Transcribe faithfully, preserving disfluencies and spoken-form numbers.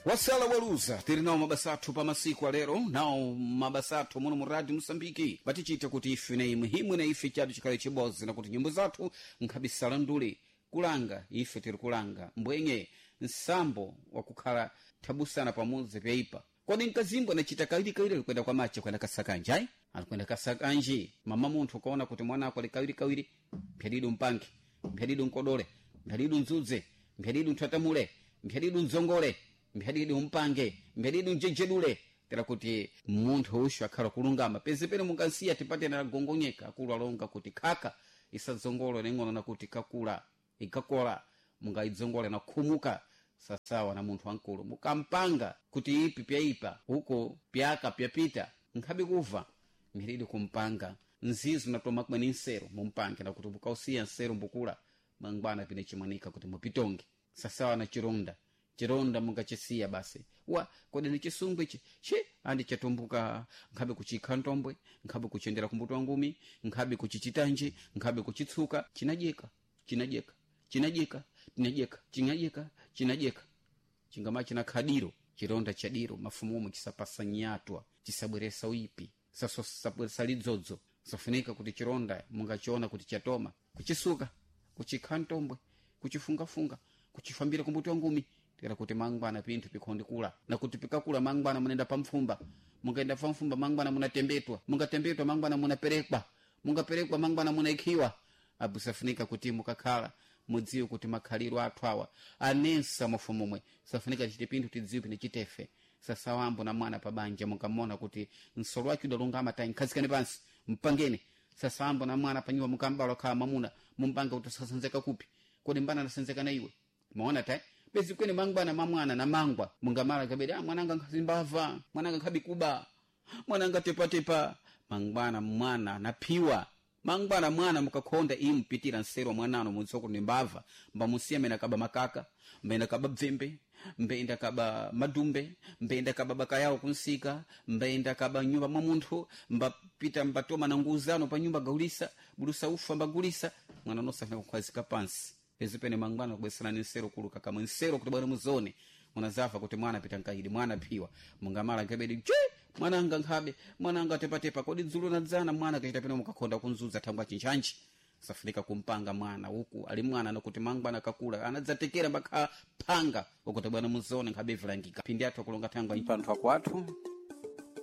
Wasala waluza tiri nawo mabasa athu pa masiku alero, nawo mabasa athu muno mu Radio Mosambiki batichita kuti ife na imwe himwe na ife chadu chikhale chibodzi, na kuti nyimbo zathu nkhabisala ndule kulanga ife tiri kulanga mbwenye nsambo wakukhala thabusana pamodzi pyaipa. Kodi mkazimbwe anachita kawirikawiri alikwenda kwa mache kwenda kasakanje ayi alikwenda kasakanje. Mama munthu ukaona kuti mwana ako ali kawirikawiri, mphedidu mpange, mphedidu nkodole, mphedidu ndzudze, mphedidu nthwatamule, mphedidu ndzongole, mphedidu mpange, mphedidu njejedule, tera kuti munthu ushu akhala kulungama. Peze pene mungansiya tipate na gongonyeka akulu alonga kuti khaka isadzongole neng'ono na kuti kakula ikakola mungayidzongole na khumuka sasawa na munthu wankulu mukampanga kuti ipi pyaipa huko pyaka pyapita nkhabe kuva mphiridi kumpanga nzizo natoma kweni nsero mumpange nakuti mukausiya nsero mbukula mangwana pine chimwanika kuti mupitonge sasawa na chironda chironda mungachisiya basi wa kodi ni chisungwi ichi chi andi chatumbuka nkhabe kuchikha ntombwe, nkhabe kuchendera kumbuto wa ngumi, nkhabe kuchichitanji, nkhabe kuchitsuka, chinadyeka chinadyeka chinadyeka chinadyeka chinadyeka chinadyeka chingama china khadiro chironda chadiro mafumu omwe chisapasa nyatwa chisabweresa uipi sasabweresa lidzodzo. Safunika kuti chironda mungachiona kuti chatoma kuchisuka, kuchikha ntombwe, kuchifungafunga, kuchifambira kumbuto wa ngumi tera kuti mangwana pinthu pikhondikula na kuti pikakula mangwana munenda pamfumba, mungaenda pamfumba mangwana munatembetwa, mungatembetwa mangwana munaperekwa, mungaperekwa mangwana munaikhiwa. Apo safunika kuti mukakhala mudziwe kuti makhaliro athu awa anensa mufumumwe safunika chite pinthu tidziwe pine chitefe sasawambo na mwana pabanja mukamona kuti nsolo wake udalungama tayi nkhazikani pansi mpangeni. Sasawambo na mwana panyumba mukambala khala mwamuna mumpanga kuti sasanzeka kupi kodi mbana anasenzeka na iwe maona tayi bezi kwene mangwana mamwana na mangwa mungamala kabedi ah mwananga nkhazimbava, mwananga nkhabikuba, mwananga tepatepa. Mangwana mwana anaphiwa mangwana mwana mukakhonda impitira nsero mwanano mutsoko ni mbava mbamusiya mene akaba makaka, mbenda kaba bvembe, mbenda kaba madumbe, mbenda kaba bakayawo kunsika, mbenda kaba nyumba mwa munthu, mbapita mbatoma na nguzano pa nyumba gaulisa bulusa ufa mbagulisa. Mwana nosafuna kukhwazika pansi pezi pene mangwana kubweserani nsero kuluka kamwe nsero kuti bwana muzone munazafa kuti mwana pita nkaidi mwana phiwa mungamala nkabedi che mwananga nkhabe mwananga tepatepa kodi dzulo nadzana mwana kachita pene mukakhonda kunzudza thangwa chinchanji safunika kumpanga mwana huku ali mwana nokuti mangwana kakula anadzatekera mbakha phanga ukuti bwana muzone nkhabe vilangika phindi athu akulonga thangwa panthu akwathu.